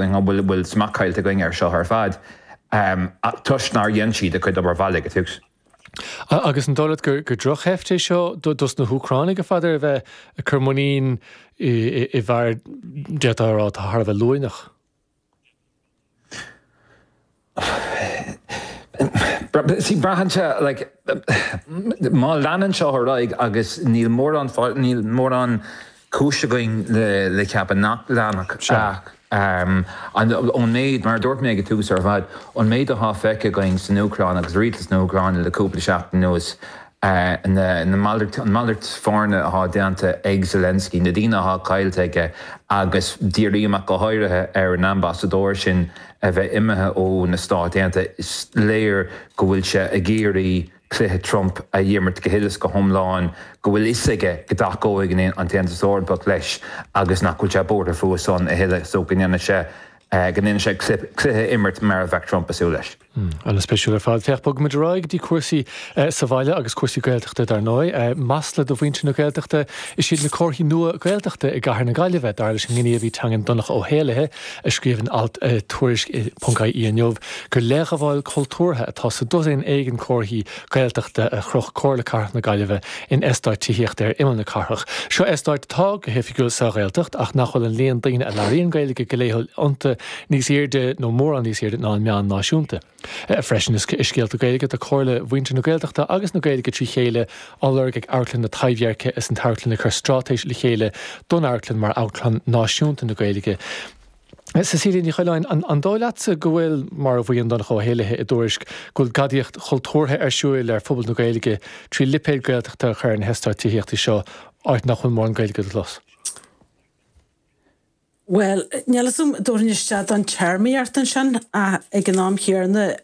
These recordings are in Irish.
An bhfuil smacht caillte againn air seo ar fad toisc nár dhein siad a gcuid obair bhaile ag an tús? Agus an dóigh leat gur drochsheift é seo dos na hÚcránaigh, a Pheadair, a bheith ag cur muinín i bhfear, d'fhéadfá a rá, atá thar a bheith luaineach? See, braitheann sé, like, má leanann seo ar aghaidh agus níl mórán, níl mórán cúis againn le ceapadh nach leanfadh ach ón méid, mar a dúirt mé ag an tús ar fad, an méid atá feicthe againn san Úcráin agus rialtas na hÚcráine le cúpla seachtain anuas, na malairt, an malairt foirne atá déanta ag Zelensky, na daoine atá caillte aige agus dírím ach go háirithe ar an ambasadóir sin a bheith imithe ó na Stáit Aontaithe, is léir go bhfuil sé ag iarraidh cluiche Trump a imirt go huile is go hiomlán, go bhfuil fhios aige go dtacóidh an tAontas Eorpach leis agus nach bhfuil sé buartha fúthu san a thuilleadh so go ndéanfaidh sé go ndéanfaidh sé cluiche a imirt mar a bheadh Trump ag súil leis. An-spéisiúil ar fad. Féach, bogfaimid ar aghaidh go dtí cúrsaí sa bhaile agus cúrsaí Gaeltachta dar ndóigh. Masla do mhuintir na Gaeltachta is iad na comharthaí nua Gaeltachta i gcathair na Gaillimhe, dar leis an ngníomhaí teangan Donncha Ó hÉallaithe, a scríobh in alt i Tuairisc ponc ie inniu gur leithghabháil chultúrtha atá sa dosaen éigin comharthaí Gaeltachta a chroch Comhairle Cathrach na Gaillimhe in eastáit tithíochta ar imeall na cathrach. Seo eastáit atá go hoifigiúil sa Ghaeltacht ach nach bhfuil an líon daoine a labhraíonn Gaeilge go laethúil iontu níos airde nó mórán níos airde ná an meán náisiúnta. Freisin i scéalta Gaeilge tá Comhairle Mhuintir na Gaeltachta agus na Gaeilge trí chéile á lorg ag Amharclann na Taibhdheirce is an t-amharclann ag cur straitéis le chéile don amharclann mar amharclann náisiúnta na Gaeilge. Cecilia Ní Choileáin, an dóigh leatsa go bhfuil, mar a mhaíonn Donncha Ó hÉallaithe i dTuairisc, go bhfuil gadaíocht chultúrtha ar siúil ar phobal na Gaeilge trí lipéad Gaeltachta a chur ar na heastáit tithíochta seo, áit nach bhfuil mórán Gaeilge le clos? Bhuel, níl 'fhios a'm, dtabharfainn isteach don téarmaíocht ansin ach ag an am chéanna,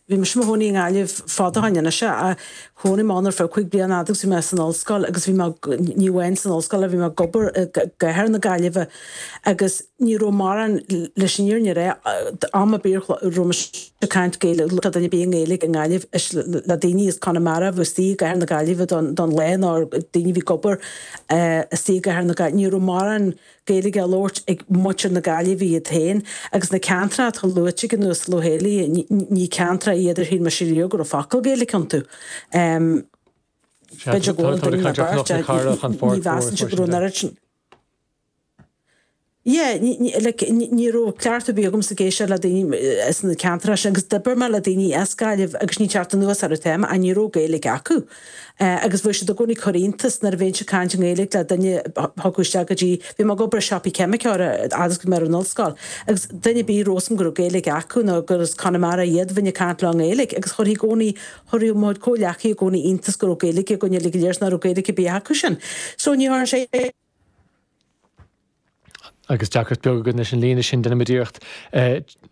bhí mise i mo chónaí i nGaillimh fada ó shin anois ach chónaigh mé ann ar feadh 5 bliana fhad agus bhí mé san ollscoil agus bhí mé, ní amháin san ollscoil ach bhí mé ag obair i gcathair na Gaillimhe agus ní raibh mórán, leis an fhírinne a rá, am ar bith a raibh mise ag caint Gaeilge, le duine ar bith i nGaeilge i nGaillimh, is le daoine as Conamara a bhí istigh i gcathair na Gaillimhe don lá nó daoine a bhí ag obair istigh i gcathair na Gaillimhe, ní raibh mórán Gaeilge á labhairt ag muintir na Gaillimhe iad féin agus na ceantracha atá luaite ag an Uasal Ó hÉallaithe, ní ceantracha iad ar shíl mise riamh go raibh focal Gaeilge iontu. B'fhéidir go bhfuil duine nó beirt ach ní mheasaimse go raibh an oiread sin. Yeah, like, ní raibh cleachtadh ar bith agamsa ag éisteacht le daoine as na ceantracha sin agus d'oibir mé le daoine as Gaillimh agus ní teacht anuas orthu téama ach ní raibh Gaeilge acu. Agus bheadh siad i gcónaí ag cur iontas nuair a bheinnse ag caint i nGaeilge le duine a thiocfadh isteach go dtí, bhí mé ag obair i siopaí ceimiceora fhad is go raibh mé ar an ollscoil, agus duine ar bith a raibh 'fhios a'm go raibh Gaeilge acu nó gur as Conamara iad, bheinn ag caint leo i nGaeilge agus chuirfí i gcónaí, chuirfeadh mo chuid comhghleacaithe i gcónaí iontas go raibh Gaeilge againn uilig go léir 's nach raibh Gaeilge ar bith acu sin. So ní tharla sé. Agus deacracht beag againn leis an líne sin, déanfaimid iarracht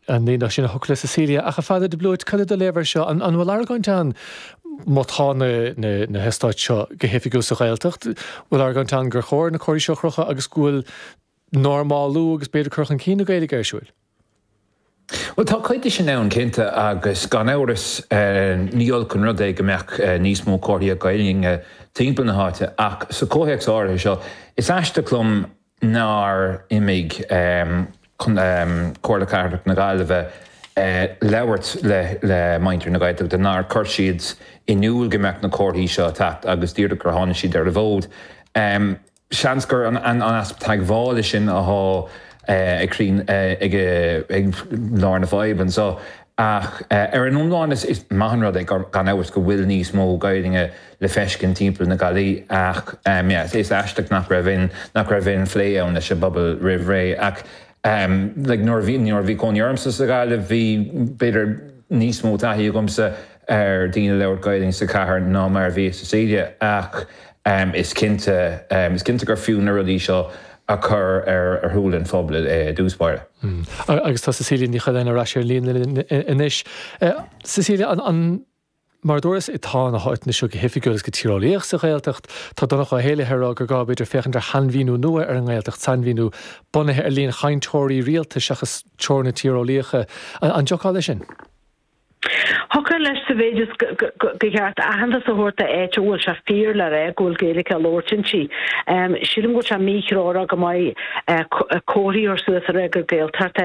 an líne sin a shocrú le Cecilia. Ach a Pheadair de Blúit, cad é do léamh air seo? An bhfuil argóint ann, má tá na heastáit seo go hoifigiúil sa Ghaeltacht, bhfuil argóint ann gur chóir na comharthaí seo a chrochadh agus go bhfuil normálú agus b'fhéidir cur chun cinn na Gaeilge ar siúil? Bhuel, tá cuid de sin ann, cinnte, agus gan amhras ní olc an rud é go mbeadh níos mó comharthaíocht Gaeilge timpeall na háite, ach sa chomhthéacs áirithe seo, is aisteach liom nár imigh Comhairle Cathrach na Gaillimhe labhairt le muintir na Gaeltachta, nár chuir siad in iúl go mbeadh na comharthaí seo ag teacht agus díreach gur tháinig siad ar an bhfód. Seans gur an easpa teagmhála sin atá ag ag lár na faidhbe anseo. Ach ar an iomlán is maith an rud é gan amhras go bhfuil níos mó Gaeilge le feiscint timpeall na Gaillimhe ach yeah is aisteach nach raibh aon nach raibh aon phlé ann leis an bpobal roimh ré. Ach like nuair a bhí nuair a bhí cónaí ormsa sa Ghaillimh bhí b'fhéidir níos mó taithí agamsa ar daoine ag labhairt Gaeilge sa chathair ná mar a bhí ag Cecilia ach is cinnte is cinnte gur fiú na rudaí seo a chur ar shúile an phobail i dtús báire. Agus tá Cecilia Ní Choileáin ar ais ar an líne linn anois. Cecilia, an mar a dúras, tá na háiteanna seo go hoifigiúil agus go tíreolaíoch sa Ghaeltacht. Tá Donncha Ó hÉallaithe ag rá gur gá, b'fhéidir, féachaint ar shainmhíniú nua ar an nGaeltacht, sainmhíniú bunaithe ar líon chainteoirí rialta seachas teorainneacha tíreolaíocha. An dtiocfá leis sin? Thiocfadh leis sa mhéid is gur cheart aitheantas a thabhairt d'áit a bhfuil sé fíor le rá go bhfuil Gaeilge á labhairt inti. Sílim go bhfuil sé míthreorach go maith comharthaí a chur suas a rá gur Gaeltacht é.